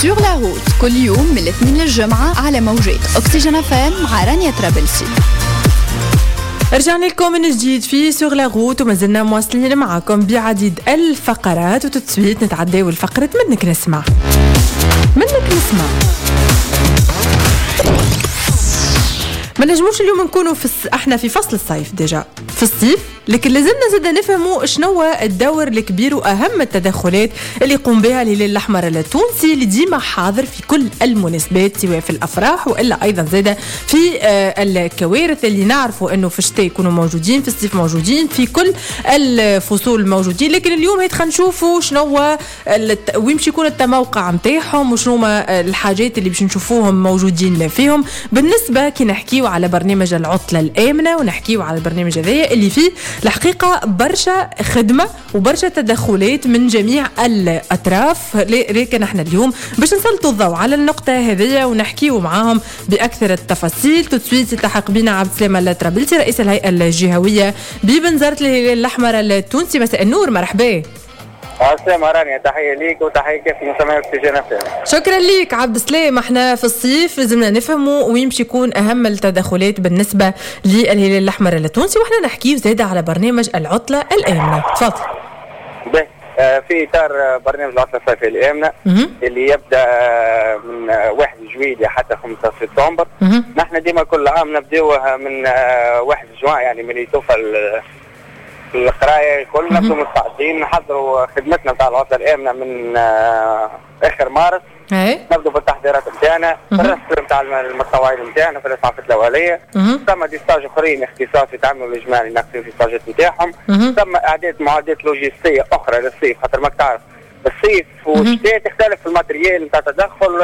Sur la route كل يوم من الاثنين للجمعة على موجات أكسجين FM مع رانيا ترابلسي. رجعنا لكم من جديد في Sur la route وما زلنا مواصلين معكم بعديد الفقرات، و tout de suite نتعداو لفقرة منك نسمع. منك نسمع. ما نجموش اليوم نكونوا احنا في فصل الصيف déjà في الصيف، لكن لازمنا زاد نفهموا شنو الدور الكبير واهم التدخلات اللي يقوم بها الهلال الاحمر التونسي اللي ديما حاضر في كل المناسبات، سواء في الافراح والا ايضا زاد في الكوارث اللي نعرفوا انه في الشتاء يكونوا موجودين، في الصيف موجودين، في كل الفصول موجودين. لكن اليوم هيك خلينا نشوفوا شنو وين باش يكون التموقع نتاعهم وشنو الحاجات اللي باش نشوفوهم موجودين فيهم. بالنسبة كي نحكيو على برنامج العطلة الامنة ونحكيو على البرنامج هذايا اللي فيه الحقيقة برشا خدمة وبرشا تدخلات من جميع الأطراف، لكن احنا اليوم باش نسلطوا الضوء على النقطة هذه ونحكيو معاهم بأكثر التفاصيل. tout de suite يلتحق بنا عبد السلام الترابلسي رئيس الهيئة الجهوية ببنزرت الهلال الأحمر التونسي. مساء النور، مرحبا. السلام رانيا، تحية ليك وتحية كيف مستمعي أكسجين FM. شكرا ليك عبد السلام. احنا في الصيف لازمنا نفهموا وين باش يكون اهم التدخلات بالنسبة للهلال الأحمر التونسي، واحنا نحكيو زادة على برنامج العطلة الآمنة. تفضل. في إطار برنامج العطلة الصيفية الآمنة اللي يبدأ من 1 جويلية حتى 5 سبتمبر. نحن ديما كل عام نبداوها من 1 جوان، يعني من يتوفى القراية الكل نبدو مستعدين نحضروا خدمتنا نتاع العطلة الامنة من اخر مارس. نبدو بالتحضيرات نتاعنا في الرسم نتاع المتطوعين نتاعنا في الاسعافات الاولية. ثم des stages اخرين اختصاص يتعملوا الجماعة اللي ناقصين في ستاجات نتاعهم. ثم اعداد معدات لوجستية اخرى للصيف، خاطر ماك تعرف الصيف والشتاء تختلف في ال matériel نتاع التدخل.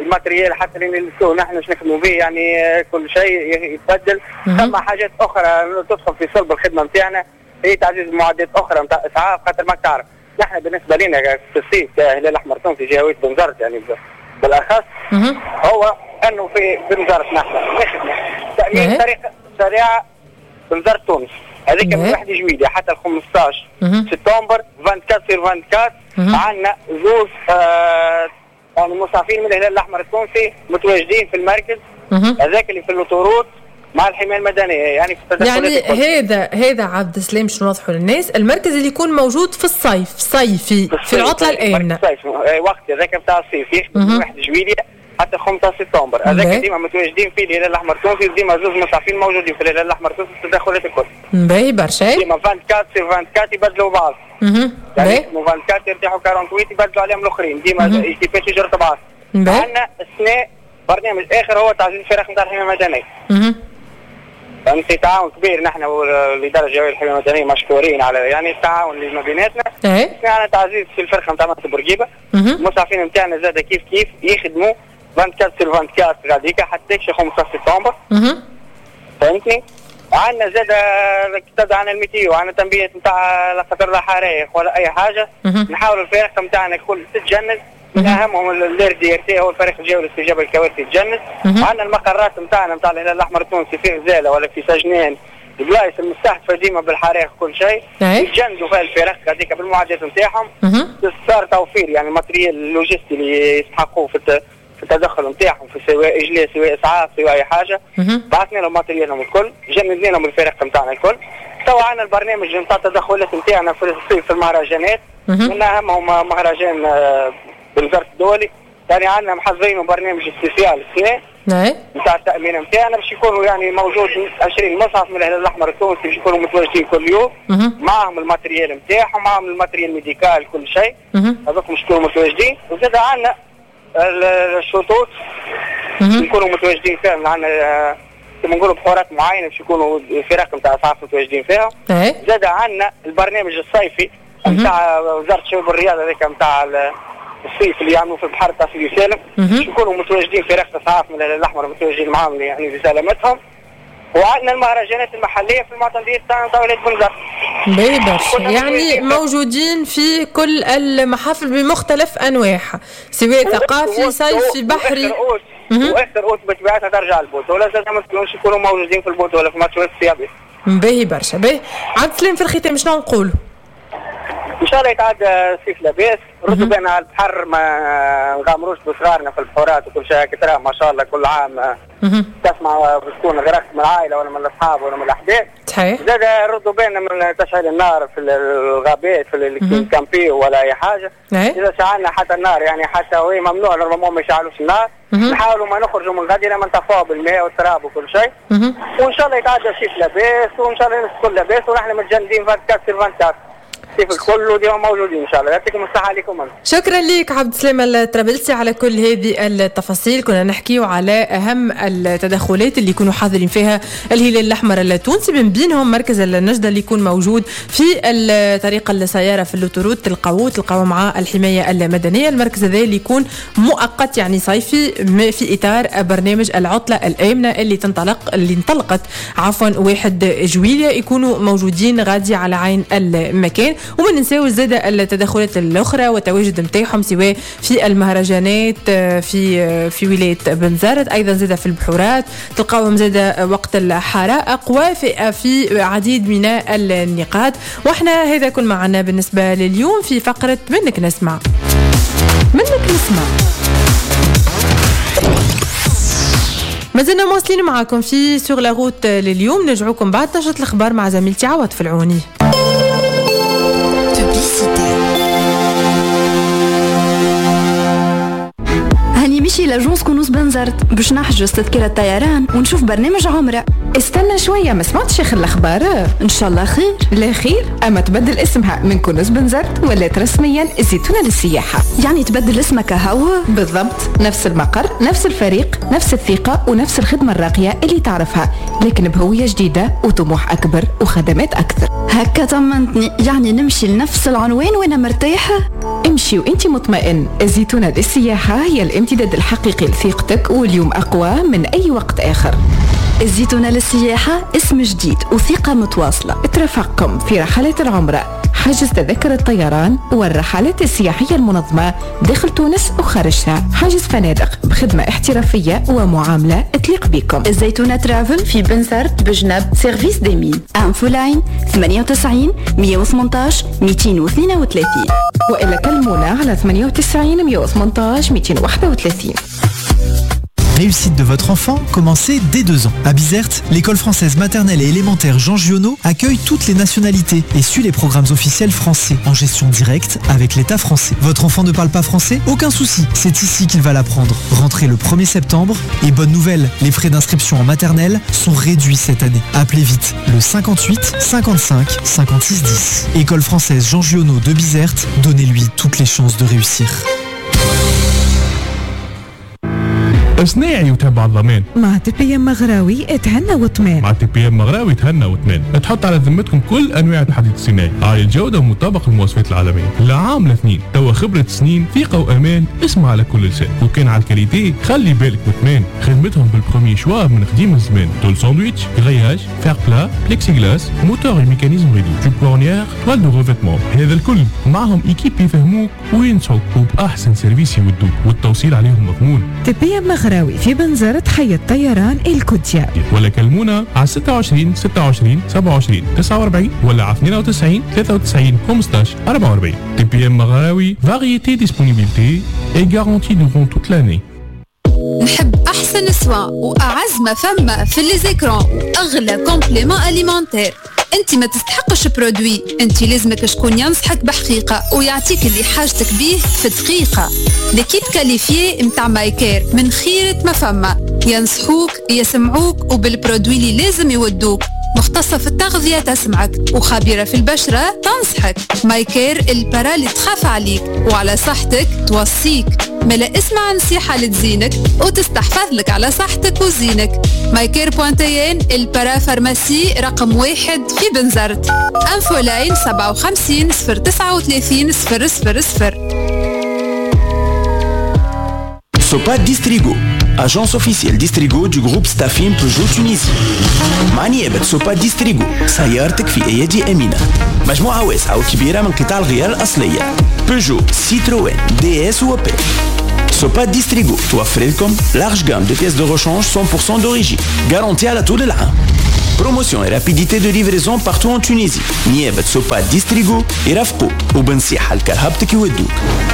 ال matériel حتى اللي نلبسوه نحن باش نخدموا به، يعني كل شيء يتبدل. ثم حاجات اخرى تدخل في صلب الخدمة نتاعنا هي تعزيز معدات اخرى نتاع اسعاف، خاطر ماك تعرف نحن بالنسبة لنا في الصيف كهلال الاحمر التونسي جهويه بنزرت يعني بالاخص هو انه في بنزرت نحن نخدموا تامين طريق سريعة بنزرت تونس هذيك من 1 جويلية حتى 15 سبتمبر 24/24. عندنا زوز يعني مسعفين من الهلال الاحمر التونسي متواجدين في المركز هذاك اللي في l'autoroute مع الحماية المدنية، يعني في يعني هذا عبد السلام شنو نوضحوا للناس، المركز اللي يكون موجود في الصيف صيفي في العطلة الامنة، الصيف وقت هذاك نتاع الصيف يخدم من 1 جويلية حتى 5 سبتمبر. هذاك ديما متواجدين فيه الهلال الاحمر التونسي، ديما زوز مسعفين موجودين في الهلال الاحمر التونسي في التدخلات الكل. باهي برشا. ديما 24/24 يبدلوا بعض. يعني 24 يرتاحوا 48 يبدلوا عليهم الاخرين، ديما كيفاش يجروا بعض. عندنا السنة برنامج اخر هو تعزيز الفرق نتاع الحماية المدنية. فهمتي، تعاون كبير نحن والادارة الجهوية للحماية المدنية مشكورين على يعني التعاون اللي ما بيناتنا. عندنا تعزيز في الفرقة نتاع منطقة بورقيبة، المسعفين نتاعنا زاد كيف كيف يخدموا 24/24 غاديكا حتى 15 سبتمبر. فهمتني؟ عندنا زاد تبدا عندنا ال météo، عندنا تنبيهات نتاع لا خطر لا حرائق ولا اي حاجة. نحاولوا الفرق نتاعنا الكل تتجند، من اهمهم ال RDRT هو الفريق الجوي للاستجابه للكوارث يتجند. عندنا المقرات نتاعنا نتاع الهلال الاحمر التونسي في غزاله ولا في سجنان، البلايص المستهدفة ديما بالحرائق كل شيء يتجندوا فيها الفرق هذيك بالمعدات نتاعهم. صار توفير يعني ال matériel اللوجستي اللي يستحقوه في التدخل نتاعهم، في سواء اجلاء سواء اسعاف سواء اي حاجة. بعثنا لهم matériel هم الكل، جندنا لهم الفرق نتاعنا الكل. تو عندنا البرنامج نتاع التدخلات نتاعنا في الصيف في المهرجانات، من اهمهم مهرجان بنزرت الدولي. يعني عندنا محضرين برنامج spécial السنة نتاع التامين نتاعنا باش يكونوا يعني موجود 20 مصعف من الهلال الاحمر التونسي باش يكونوا متواجدين كل يوم، معهم ال matériel نتاعهم، معهم ال matériel médical كل شيء، هذوك باش يكونوا متواجدين. وزاد عندنا الشطوط يكونوا متواجدين فيهم، عندنا كما نقولوا بحورات معينة باش يكونوا الفرق نتاع اسعاف متواجدين فيها. زاد عندنا البرنامج الصيفي نتاع وزارة الشباب والرياضة هذاك نتاع الصيف اللي يعملوا في البحر تاع سيدي سالم، يكونوا متواجدين فرق اسعاف من الهلال الاحمر متواجدين معاهم يعني لسلامتهم. وعندنا المهرجانات المحلية في المعتمديه تاع ولاية بنزرت. باهي برشا، يعني موجودين في كل المحافل بمختلف انواعها، سواء ثقافي صيفي بحري. واخر اوت بطبيعتها ترجع البطولة، زاد ما يكونوا موجودين في البطولة في ماتشات السيابي. باهي برشا. باهي عبد السلام، في الختام شنو نقولوا؟ ان شاء الله يتعدى الصيف لاباس، ردوا بالنا على البحر، ما نغامروش بصغارنا في البحورات وكل شيء كتراه ما شاء الله كل عام تسمع بتكون غرقت من العائلة ولا من الاصحاب ولا من الاحباب. صحيح. زاد ردوا بالنا من تشعيل النار في الغابات في ال camping ولا اي حاجة. اذا شعلنا حتى النار يعني حتى وهي ممنوع normalement ما يشعلوش النار، نحاولوا ما نخرجوا من غادي لما نطفوها بالماء والتراب وكل شيء. وان شاء الله يتعدى الصيف لاباس، وان شاء الله الناس الكل لاباس، ونحن متجندين 24 24 كيف الكل وديما موجودين ان شاء الله. يعطيكم الصحة عليكم. شكرا لك عبد السلام الطرابلسي على كل هذه التفاصيل. كنا نحكيو على اهم التدخلات اللي يكونوا حاضرين فيها الهلال الاحمر التونسي، من بينهم مركز النجده اللي يكون موجود في طريق السيارة في l'autoroute، تلقاوه مع الحماية المدنية. المركز هذا اللي يكون مؤقت يعني صيفي في اطار برنامج العطلة الامنة اللي انطلقت عفوا 1 جويلية، يكونوا موجودين غادي على عين المكان. وما ننساوش زاد التدخلات الاخرى والتواجد نتاعهم سواء في المهرجانات في ولاية بنزرت، ايضا زاد في البحورات تلقاوهم زاد وقت الحرائق وفي في عديد من النقاط. واحنا هذا كل معنا بالنسبة لليوم في فقره منك نسمع. منك نسمع مازلنا مواصلين معاكم في sur la route لليوم. نرجعوكم بعد نشرة الاخبار مع زميلتي عوض في العوني. هاني مشي l'agence كونوس بنزرت باش نحجز تذكرة طيران ونشوف برنامج عمرة. استنى شوية، ما سمعتش آخر الأخبار؟ إن شاء الله خير. لا خير، أما تبدل اسمها من كونوس بنزرت ولات رسميا الزيتونة للسياحة. يعني تبدل اسمك هو؟ بالضبط، نفس المقر، نفس الفريق، نفس الثقة ونفس الخدمة الراقية اللي تعرفها، لكن بهوية جديدة وطموح أكبر وخدمات أكثر. هكا طمنتني، يعني نمشي لنفس العنوان وأنا مرتاحة؟ امشي وانت مطمئن. الزيتونة للسياحة هي الامتداد الحقيقي لثقتك، واليوم أقوى من أي وقت آخر. الزيتونة للسياحة اسم جديد وثقة متواصلة. ترافقكم في رحلات العمرة، حجز تذاكر الطيران والرحلات السياحية المنظمة داخل تونس وخارجها، حجز فنادق بخدمة احترافية ومعاملة تليق بكم. الزيتونة Travel في بنزرت بجنب service des mines. infoline 98 118 232 وإلا كلمونا على 98 118 231. Réussite de votre enfant, commencez dès 2 ans. À Bizerte, l'école française maternelle et élémentaire Jean Giono accueille toutes les nationalités et suit les programmes officiels français en gestion directe avec l'État français. Votre enfant ne parle pas français? Aucun souci, c'est ici qu'il va l'apprendre. Rentrez le 1er septembre et bonne nouvelle, les frais d'inscription en maternelle sont réduits cette année. Appelez vite le 58 55 56 10. École française Jean Giono de Bizerte, donnez-lui toutes les chances de réussir. صناعي وتابع الضمان مع TPM مغراوي اتهنى واطمان. مع TPM مغراوي تهنى واطمان. تحط على ذمتكم كل انواع الحديد الصناعي عالي الجودة ومطابق للمواصفات العالمية. لا عام لاثنين توا خبره سنين، ثقة وامان، اسمع على كل لسان. وكان على ال qualité خلي بالك واطمان، خدمتهم بال premier choix من قديم الزمان. tôle sandwich، grillage، fer plat، plexiglas، moteur mécanisme rideau، tubes ornières، toile de revêtement، هذا الكل معهم équipe يفهموك وينصحوك وباحسن service يودوك، والتوصيل عليهم مضمون. TPM مغراوي في بنزرت حي الطيران الكوتيا، ولا كلمونا على 26 26 27 49 ولا على 92 93 15 44. TPM مغراوي، variété, disponibilité et garantie durant toute l'année. نحب احسن soin واعز ما فما في les écrans واغلى compléments alimentaires. انت ما تستحقش produit، انت لازمك شكون ينصحك بحقيقة ويعطيك اللي حاجتك بيه في دقيقة. l'équipe qualifiée متاع مايكير من خيره ما فما، ينصحوك يسمعوك وبال produit اللي لازم يودوك. مختصة في التغذية تسمعك وخبيرة في البشرة تنصحك. مايكير ال para اللي تخاف عليك وعلى صحتك توصيك. ملا اسمع نصيحة لتزينك وتستحفظ لك على صحتك وزينك. مايكير point tn، ال parapharmacie رقم 1 في بنزرت. infoline 57 039 000. Sopa Distrigo, agence officielle Distrigo du groupe Stafim Peugeot Tunisie. مع نيابة Sopa Distrigo سيارتك في أيادي أمينة. مجموعة واسعة وكبيرة من قطع الغيار الأصلية Peugeot، Citroën، DS و Opel. Sopa Distrigo توفر لكم large gamme de pièces de rechange 100% d'origine، garantie على طول العام. Promotion et rapidité de livraison partout en Tunisie. نيابة سوبا ديستريغو يرافقوك وبنصيحة لكرهبتك يودوك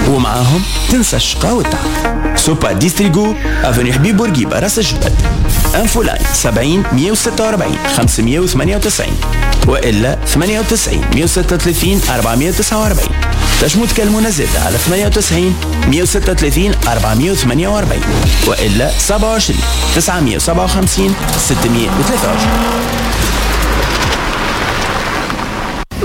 ومعاهم تنسى الشقا والتعب. سوبا ديستريغو، avenue حبيب بورقيبة، راس الجبل. Infoline 70 146 598 والا 98 136 449. تنجموا تكلمونا زادة على 98 136 448 والا 27 957 623.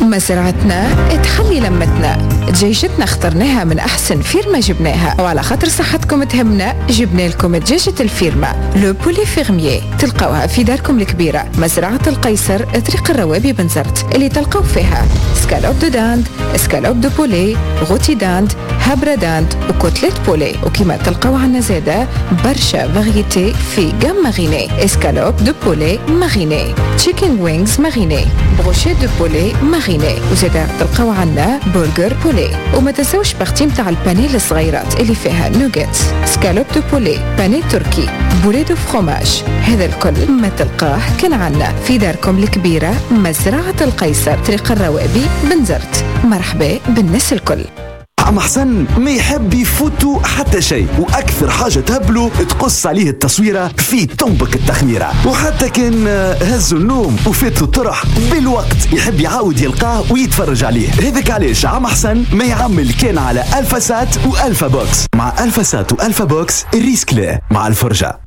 مزرعتنا تحلي لمتنا، دجاجتنا اخترناها من احسن فيرما جبناها، وعلى خاطر صحتكم تهمنا جبنا لكم دجاجة الفيرما le poulet fermier، تلقاوها في داركم الكبيرة مزرعة القيصر طريق الروابي بنزرت، اللي تلقاو فيها escalope de dinde، escalope de poulet، rôti dinde، هبرة dinde و côtelette poulet. وكما تلقاو عنا زادة برشا variétés في gamme marinée، escalope de poulet marinée، chicken wings marinée، brochettes de poulet marinées، وزادة تلقاو عنا burger poulet. وما تنساوش partie نتاع ال pané الصغيرات اللي فيها nuggets، escalope de poulet، pané turc، boulettes de fromage. هذا الكل ما تلقاه كان عنا في داركم الكبيرة مزرعة القيصر طريق الروابي بنزرت. مرحبا بالناس الكل. عم حسن ما يحب يفوتوا حتى شيء، واكثر حاجة تهبلو تقص عليه التصويره في طنبك التخميره، وحتى كان هزوا النوم وفاتوا الطرح بالوقت يحب يعاود يلقاه ويتفرج عليه. هذاك علاش عم حسن ما يعمل كان على الفا سات والفا بوكس. مع الفا سات والفا بوكس ال risque لا مع الفرجة.